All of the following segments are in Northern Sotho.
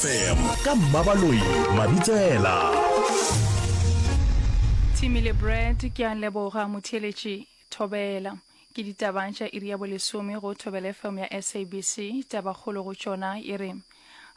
FM ka Mmabaloi Mabitsela. Timmy le Brad ke a leboga motheeletši Thobela. Ke ditaba tša iri ya bolesome go Thobela FM ya SABC. Tabakgolo go tšona e re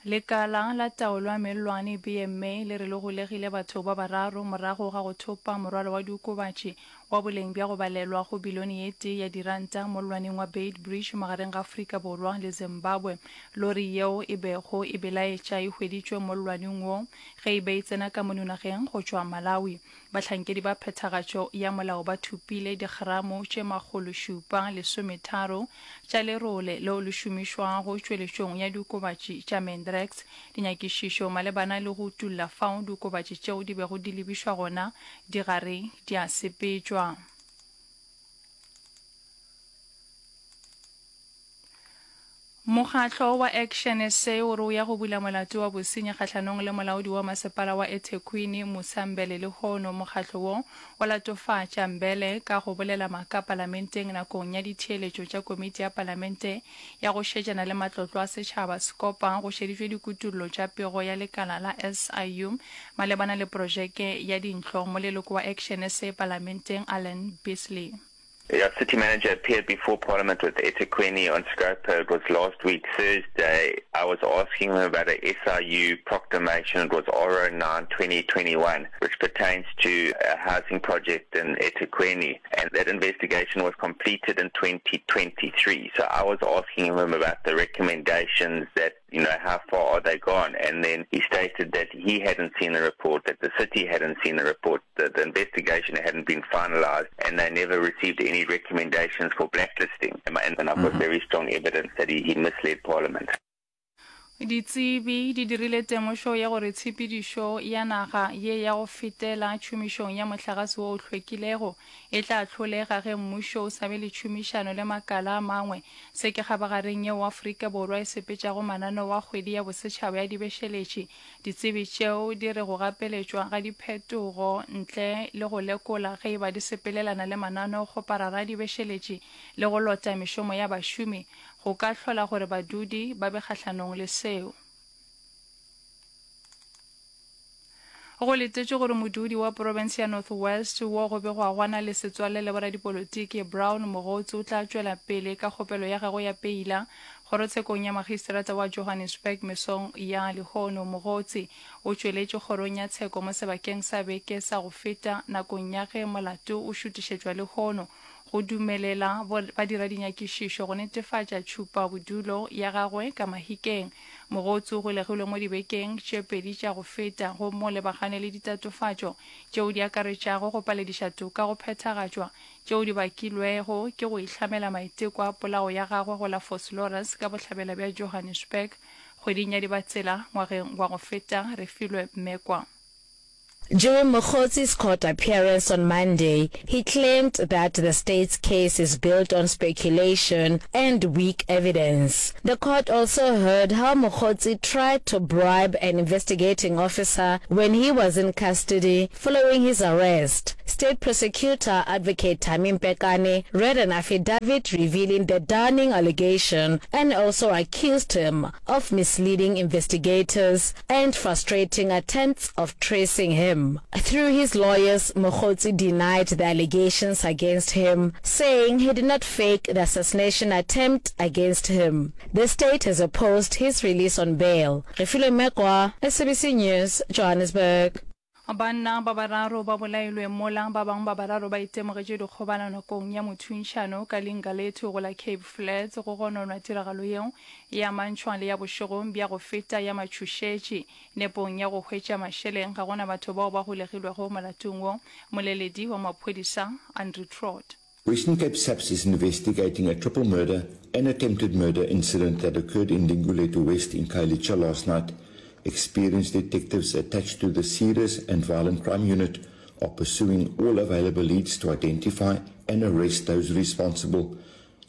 Lekala la taolo ya mellwane BMA le re le golegile batho ba bararo morago ga go thopa morwalo wa diokobatši wa boleng bja go balelwa go bilione ye tee ya diranta mollwaneng wa Beitbridge magareng ga Afrika Borwa le Zimbabwe. Lori yeo e bego e belaetša e hweditšwe mollwaneng wo ge e be e tsena ka mono nageng go tšwa Malawi. Bahlankedi ba phethagatšo ya molao ba thopile digramo tše makgološupa lesometharo tša lerole leo le šomišwago tšweletšong ya diokobatši tša Mandrax. Dinyakišišo malebana le go utolla fao diokobatši tšeo di bego di lebišwa gona di gare di a sepetšwa. Mokgatlo wa Action sa o re o ya go bula molato wa bosenyi kgahlanong le molaodi wa masepala wa eThekwini, Musa Mbele lehono. Mokgatlo wo o latofatša Mbele ka go bolela maaka palamenteng nakong ya ditheeletšo tša komiti ya palamente ya go šetšana le matlotlo a setšhaba, Scopa, go šeditšwe dikutullo tša pego ya lekala la SIU malebana le projeke ya dintlo, moleloko wa Action sa palamenteng Alan Beasley. Yeah, city manager appeared before Parliament with eThekwini on Scopa. It was last week, Thursday. I was asking him about a SIU proclamation. It was R09 2021, which pertains to a housing project in eThekwini. And that investigation was completed in 2023. So I was asking him about the recommendations that you know, how far are they gone? And then he stated that he hadn't seen the report, that the city hadn't seen the report, that the investigation hadn't been finalized, and they never received any recommendations for blacklisting. And, and I've got mm -hmm. very strong evidence that he, he misled Parliament. Ditsebi di dirile temošo ya gore tshepedišo ya naga ye ya go fetela tšhomišong ya mohlagase wo o hlwekilego e tla hlolega ge mmušo o sa be le tšhomišano le makala a mangwe. Se ke kgabagareng yeo Afrika Borwa e sepetšago mananeo a Kgwedi ya Bosetšhaba ya Dibešeletši. Ditsebi tšeo di re go gapeletšwa ga diphetogo ntle le go lekola ge e ba di sepelelana le mananeokgoparara a dibešeletši le go lota mešomo ya bašomi go ka hlola gore badudi ba be kgahlanong le seo. Go letetšwe gore modudi wa profense ya North West wo go begwago a na le setswalle le boradipolotiki Brown Mogotsi o tla tšwela pele ka kgopelo ya gagwe ya peila kgorotshekong ya magistrata wa Johannesburg mesong ya lehono. Mogotsi o tšweletše kgorong ya tsheko mo sebakeng sa beke sa go feta nakong ya ge molato o šutišetšwa lehono go dumelela badiradinyakišišo go netefatša tšhupabodulo ya gagwe ka Mahikeng. Mogotsi o golegilwe mo dibekeng tše pedi tša go feta gomme o lebagane le ditatofatšo tšeo di akaretšago go palediša toka go phethagatšwa tšeo di bakilwego ke go ihlamela maiteko a polao ya gagwe go la Vosloorus ka bohlabela bja Johannesburg kgweding ya Dibatsela ngwageng wa go feta, Refilwe Mmekwa. During Mogotsi's court appearance on Monday, he claimed that the state's case is built on speculation and weak evidence. The court also heard how Mogotsi tried to bribe an investigating officer when he was in custody following his arrest. State prosecutor advocate Thami Mpekane read an affidavit revealing the damning allegation and also accused him of misleading investigators and frustrating attempts of tracing him. Through his lawyers, Mogotsi denied the allegations against him, saying he did not fake the assassination attempt against him. The state has opposed his release on bail. Refilwe Mekwa, SABC News, Johannesburg. Banna ba bararo ba bolailwe mola ba bangwe ba bararo ba itemogetše dikgobalo nakong ya mothuntšhano ka Lingalethu go la Cape Flats. Go gononwa tiragalo yeo e amantšhwa le ya bošegong bja go feta ya matšhošetši nepong ya go hwetša mašeleng. Ga go na batho bao ba golegilwego molatong wo, moleledi wa maphodisa Andrew Trott. Western Cape SAPS is investigating a triple murder and attempted murder incident that occurred in Linguletu West in Khayelitsha last night. Experienced detectives attached to the Serious and Violent Crime Unit are pursuing all available leads to identify and arrest those responsible.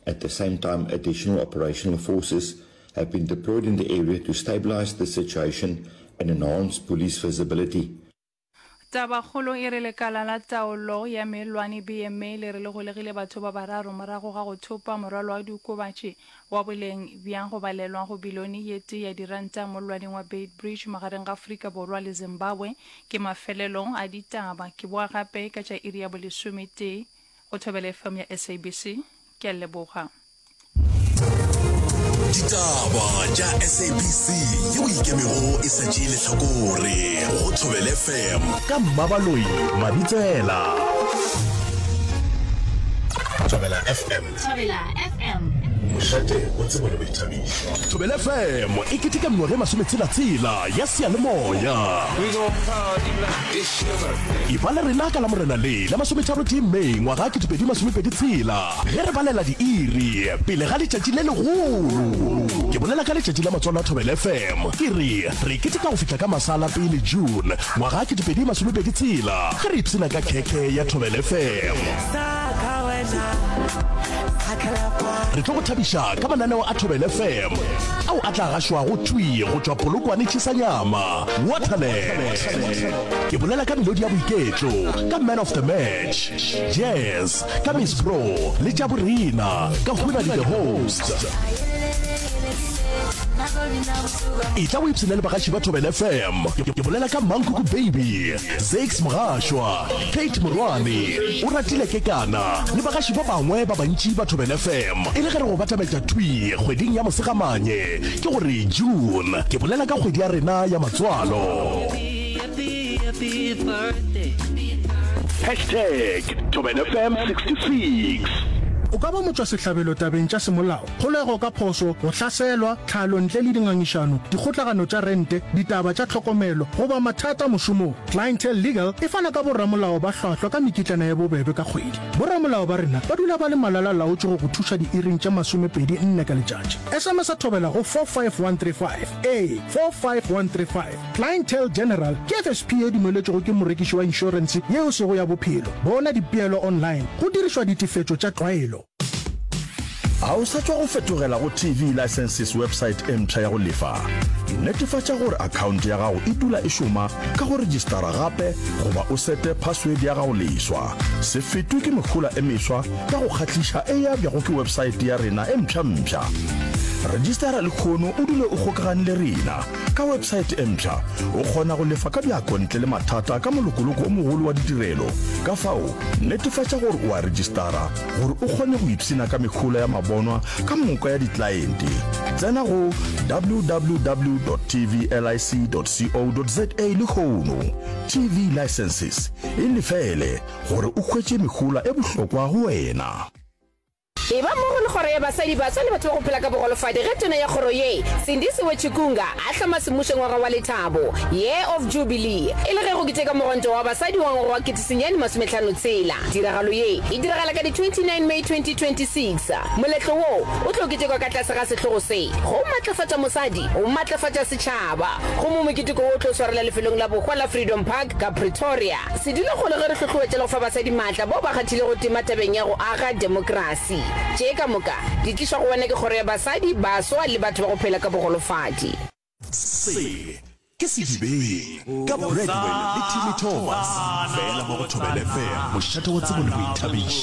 At the same time, additional operational forces have been deployed in the area to stabilize the situation and enhance police visibility. Tabakgolo e re lekala la taolo ya mellwane, BMA, le re le golegile batho ba bararo morago ga go thopa morwalo wa diokobatši wa boleng bja go balelwa go bilione ye tee ya diranta mollwaneng wa Beitbridge magareng ga Afrika Borwa le Zimbabwe. Ke mafelelo a ditaba. Ke boa gape ka tša iri ya bolesometee go Thobela FM ya SABC. Ke a leboga. Ditaba tša SABC yeo ikemego e sa tšee lehlakore go Thobela FM ka Mmabaloi Mabitsela. Thobela FM. Thobela FM. Mošate wa tsebo le boithabišo. Thobela FM e keteka mengwaga e masometshela-tshela ya seyalemoya. Eba le rena ka Lamorena le la masometharotee May ngwaga 2026. Ge re balela diiri pele ga letšatši le legolo, ke bolela ka letšatši la matswalo a Thobela FM, ke re re keteka go fihla ka masa a la pele June ngwaga 2026 ge re ipshina ka khekhe ya Thobela FM. Re tlo go thabiša ka mananeo a Thobela FM ao a tla gašwago thwi go tšwa Polokwane Tšhisanyama, Waterland. Ke bolela ka melodi ya boiketlo ka Man of the Match, Jazz, Ka Miss Pro le tša borena ka Hunadi the Host. Etla o ipshine le bagaši ba Thobela FM. Ke bolela ka Mankuku Baby, Zakes Mogašwa, Kate Morwane, Oratile Kekana le bagaši ba bangwe ba bantši ba Thobela FM. E le ge re go batametša thwi kgweding ya Mosegamanye, ke gore June. Ke bolela ka kgwedi ya rena ya matswalo. Hashtag ThobelaFM 66. O ka ba motšwasehlabelo tabeng tša semolao, kgolego ka phošo, go hlaselwa, tlhalo ntle le dingangišano, dikgotlagano tša rente, ditaba tša tlhokomelo, goba mathata mošomong. Clientele Legal e fana ka boramolao ba hlwahlwa ka mekitlana ye bobebe ka kgwedi. Boramolao ba rena ba dula ba le malala-laotšwe go go thuša diiring tše masomepedi nne ka letšatši. SMS-a Thobela go 45135. Ee, 45135. Clientele General ke FSP ye dumeletšwego ke morekiši wa inšorense ye e sego ya bophelo. Bona dipeelo online go dirišwa ditefetšo tša tlwaelo. A o sa tšwa go fetogela go TV Licenses website e mpsha ya go lefa? Netefatša gore akhaonte ya gago e dula e šoma ka go rejistara gape goba o sete password ya gago leswa. Se fetwe ke mehola e meswa ya go kgahliša e abjago ke website ya rena e mpsha-mpsha. Rejistara lehono o dule o kgokagane le rena. Ka websaete e mpsha, o kgona go lefa ka bjako ntle le mathata ka molokoloko o mogolo wa ditirelo. Ka fao, netefatša gore o a rejistara gore o kgone go ipshina ka mehola ya mabonwa ka moka ya diklaente. Tsena go www.tvlic.co.za lehono. TV Licenses, e lefele gore o hwetše mehola e bohlokwa go wena. Eba mmogo le Kgoro ya Basadi, Baswa le Batho ba go Phela ka Bogolofadi ge Tona ya kgoro ye, Sindisiwe Chikunga, a hloma semmušo ngwaga wa lethabo, Year of Jubilee, e le ge go keteka mogwanto wa basadi wa ngwaga wa 1956. Tiragalo ye e diragala ka di 29 May 2026. Moletlo wo o tlo ketekwa ka tlase ga sehlogo se, Go Matlafatša Mosadi, Go Matlafatša Setšhaba, gomme moketeko wo o tlo swarelwa lefelong la bohwa la Freedom Park ka Pretoria. Se dule kgole ge re hlohloetša le go fa basadi maatla bao ba kgathilego tema tabeng ya go aga demokrasi. Tše ka moka di tlišwa go wena ke Kgoro ya Basadi, Baswa le Batho ba go Phela ka Bogolofadi. Se ke Sedibeng ka Bradwell le Timmy Thomas, fela mo go Thobela FM, mošate wa tsebo le boithabišo.